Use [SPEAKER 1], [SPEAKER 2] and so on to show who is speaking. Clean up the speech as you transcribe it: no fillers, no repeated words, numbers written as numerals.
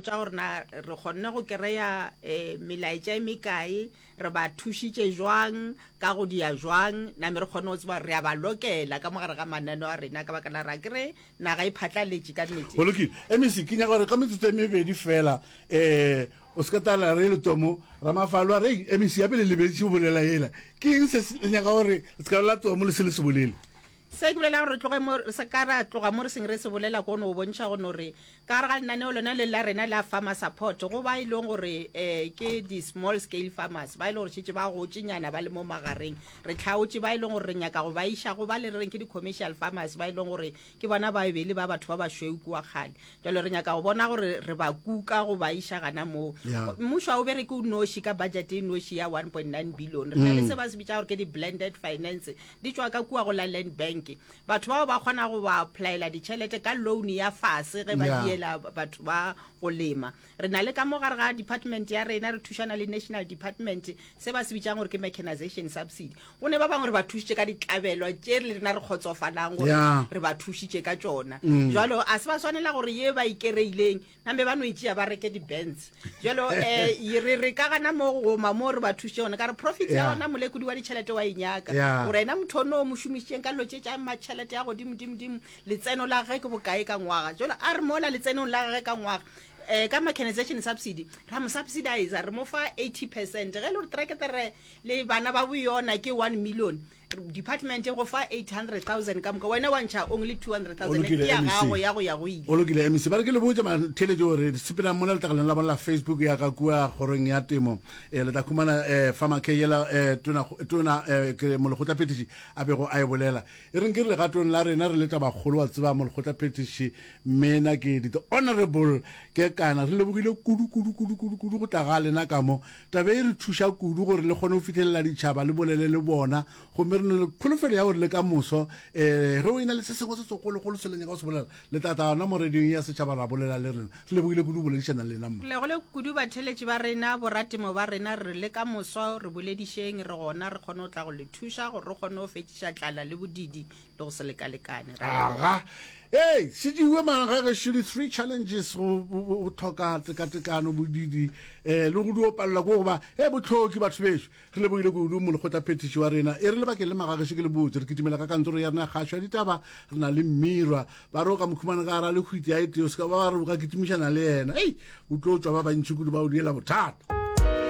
[SPEAKER 1] botša gore na re kgonne go kereya um melaetša e mekae, re ba thušitše jwang, ka go dia jwang, name re kgone go tseba gore re a ba lokela ka mo gare ga mananeo a rena ka baka la gore akere naga e phatlaletše ka nnete.
[SPEAKER 2] Go lokile. MEC, ke nyaka gore ka metsotso e mebedi fela um o se ka tala re le tomo ramafalo a re ei MEC ya pele lebetše go bolela yela. Ke eng se le nyaka gore le se ka bolela tomo le se le se bolele?
[SPEAKER 1] Se ke bolela gore re tloge mo, re se ka ra tloga mo re seng re se bolela ko no bontšha go no re ka gare ga lenaneo lona le la rena la farmer support go ba e leng gore um ke di-small scale farmers ba e leng gore šetše ba gotše nyana ba le mo magareng re tlhaotše ba e leng gore re nyaka go ba iša go ba le re reng ke di-commercial farmers ba e leng gore ke bona ba e be e le ba batho ba bašweu kua kgale jalo re nyaka go bona gore re ba kuka go ba iša gana moo
[SPEAKER 2] Yeah.
[SPEAKER 1] mmušo ga o bereke o noši ka budget e noši ya 1.9 billion re na le se ba se bitša gore ke di-blended finance di tšwa ka kua go la Land Bank. Batho bao ba kgona go ba applyela ditšhelete ka loan ya fase ge ba
[SPEAKER 2] Yeah.
[SPEAKER 1] diela batho ba go lema. Re na le ka mo gare ga department ya rena re thušana le national department se ba se bitšang gore ke mechanization subsidy. Go ne ba bangwe re ba thušitše ka ditlabelwa tše le rena re kgotsofalang gore
[SPEAKER 2] Yeah.
[SPEAKER 1] re ba thušitše ka tšona. Jwalo a se ba swanela gore ye ba ikereileng Nambe ba no e tšea ba reke di-bands jalo um re re ka gana mo goma mo re ba thuše gona ka re profit ya gona molekodi wa ditšhelete wa e nyaka gore ena motho ono o mo šomišitšeng ka dilo tše tša matšhelete ya godimo-dimo-dimo letseno la gage ke bokae ka ngwaga jalo a re mola letsenong la gage ka ngwaga um ka mechanization subsidy ra mo subsidizer re mo fa 80 percent ge e le gore trekere le bana ba boyona ke 1 million Department e go fa 800,000 ka moka, wena wa ntšha only 200,000 ke ya gago ya go ya go ile.
[SPEAKER 2] Go lokile MEC, ba re ke le botše matheletši gore sepelang mola letlakaleng la bona la Facebook ya ka kua kgorong ya temo, eh, le tla khumana eh, Farmer K yela eh, tona, tona eh, ke molekgotlaphethiši a bego a e bolela. E reng ke re legatong la rena re le tabakgolo wa tseba molekgotlaphethiši Mena ke the honorable Kekana re lebogile kudu kudu kudu kudu kudu go tla ga lena ka mo. Taba e re thuša kudu gore le kgone go fihlelela ditšhaba le bolele le bona, gomme re na le kholofelo ya gore le ka moso um ge o e na le se sengwe se segologolo se le nyaka go se bolela, le tla tla gona mo radiong ya setšhaba ra bolela le rena. Re lebogile kudu go boledišana le lena, mma.
[SPEAKER 1] Re lebogile kudu batheeletši ba rena, boratemo ba rena, re re le ka moso re boledišeng, re gona re kgone go tla go le thuša gore re kgone go fetšiša tlala le bodidi le go se lekalekane. Ra leboga.
[SPEAKER 2] Aga. Ei, se diwe mara ga gešo di-three challenges go go tlhoka tekatekano, bodidi um le go dio palelwa ke go ba e bohloki batho bešo. Re lebogile kudu molekgotlaphethiši wa rena. E re lebakeng le magagešo ke le botse re kitimela ka kantoro ya rena ya kgašo ya ditaba re na le Mmirwa. Ba re o ka mo khumana ka gara lehwiti ya e tee o se ka ba wa re o ka kitimišana le yena. Ei, o tlo tšwa ba bantši kudu ba o diela bothata.